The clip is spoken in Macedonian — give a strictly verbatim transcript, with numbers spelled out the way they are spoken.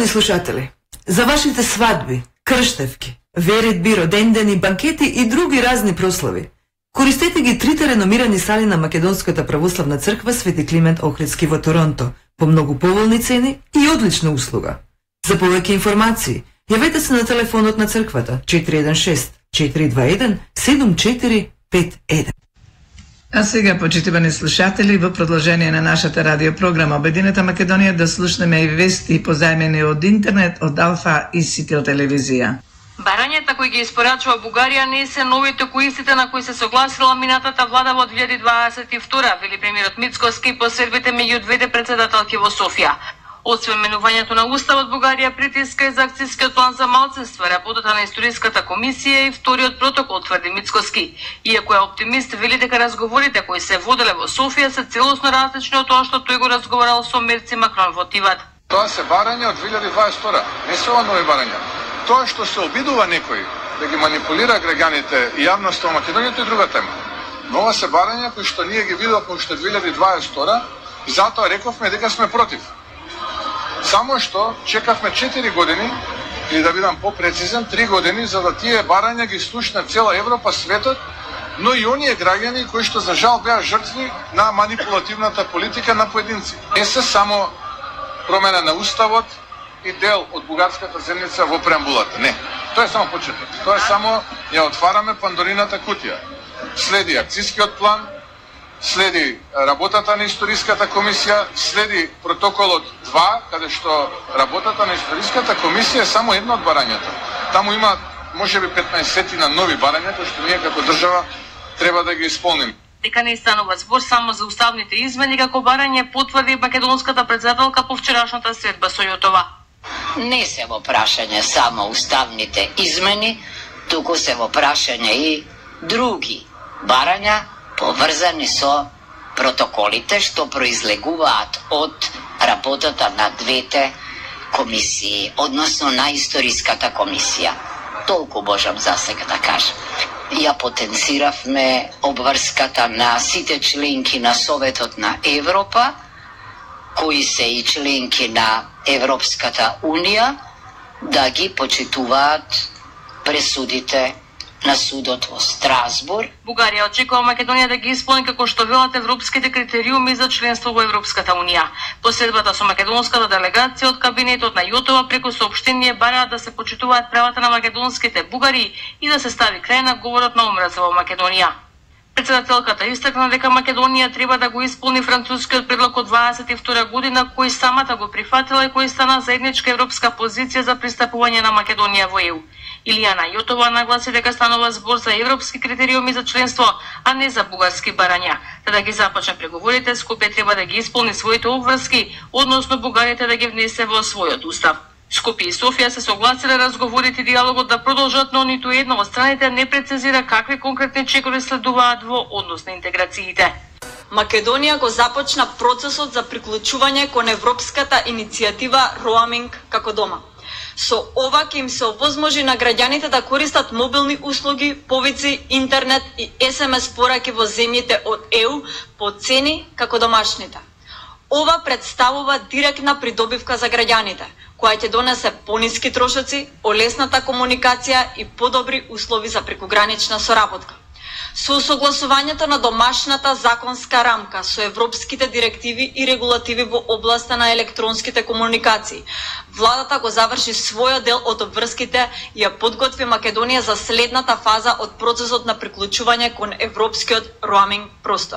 Почитувани слушатели, за вашите свадби, крштевки, веридби, родендени, банкети и други разни прослави, користете ги трите реномирани сали на Македонската православна црква Свети Климент Охридски во Торонто по многу поволни цени и одлична услуга. За повеќе информации, јавете се на телефонот на црквата четири еден шест четири два еден седум четири пет еден. А сега, почитувани слушатели, во продолжение на нашата радиопрограма Обединета Македонија да слушнеме и вести позајмени од интернет од Алфа и Сител телевизија. Барањата кои ги испорачува Бугарија не се новите кои истите на кои се согласила минатата влада во две илјади дваесет и втора, вели премиерот Мицкоски по средбите меѓу двете претседателки во Софија. Освен менувањето на Уставот, Бугарија притиска и за акцијскиот план за малцинства, работата на историската комисија и вториот протокол, тврди Мицкоски. Иако е оптимист, вели дека разговорите кои се воделе во Софија се целосно различни од тоа што тој го разговарал со мерци Макрон во Тиват. Тоа се барања од две илјади дваесет и втора, не се ова нови барања. Тоа што се обидува некој да ги манипулира граѓаните и јавноста во Македонија, тоа е друга тема. Но ова се барања кои што ние ги видовме уште две илјади дваесет и втора и затоа рековме дека сме против. Само што чекавме четири години, или да бидам попрецизен, три години, за да тие барања ги слушне цела Европа, светот, но и оние граѓани кои што за жал беа жртви на манипулативната политика на поединци. Не се само промена на Уставот и дел од бугарската земјица во преамбулата. Не, тоа е само почеток. Тоа е само ја отвараме Пандорината кутија. Следи акцијскиот план, следи работата на историската комисија, следи протоколот два, каде што работата на историската комисија е само едно од барањата. Таму има можеби петнаесет на нови барања кои што ние како држава треба да ги исполним. Дека не станува збор само за уставните измени, како барање потврди македонската претседателка по вчерашната средба со Јотова. Не се во прашање само уставните измени, туку се во прашање и други барања поврзани со протоколите што произлегуваат од работата на двете комисии, односно на историската комисија. Толку можам за сега да кажам. Ја потенциравме обврската на сите членки на Советот на Европа, кои се и членки на Европската Унија, да ги почитуваат пресудите на судот во Страсбург. Бугарија очекува Македонија да ги исполни како што велат европските критериуми за членство во Европската Унија. Посредбата со македонската делегација од кабинетот на Јотова преку соопштение бараат да се почитуваат правата на македонските бугари и да се стави крај на говорот на омраза во Македонија. Председателката истакна дека Македонија треба да го исполни францускиот предлог од дваесет и втора година, кој самата го прифатила и кој стана заедничка европска позиција за пристапување на Македонија во Е У. Илијана Јотова нагласи дека станува збор за европски критериуми за членство, а не за бугарски барања. За да ги започне преговорите, Скопје треба да ги исполни своите обврски, односно бугарите да ги внесе во својот устав. Скопје и Софија се согласиле разговорите и диалогот да продолжат, но ниту една од страните не прецизира какви конкретни чекори следуваат во однос на интеграциите. Македонија го започна процесот за приклучување кон европската иницијатива Roaming како дома. Со ова ќе им се овозможи на граѓаните да користат мобилни услуги, повици, интернет и ес ем ес пораки во земјите од Е У по цени како домашните. Ова представува директна придобивка за граѓаните, која ќе донесе пониски трошоци, олесната комуникација и подобри услови за прекогранична соработка. Со согласувањето на домашната законска рамка со европските директиви и регулативи во областа на електронските комуникации, владата го заврши својот дел од обврските и ја подготви Македонија за следната фаза од процесот на приклучување кон европскиот роаминг простор.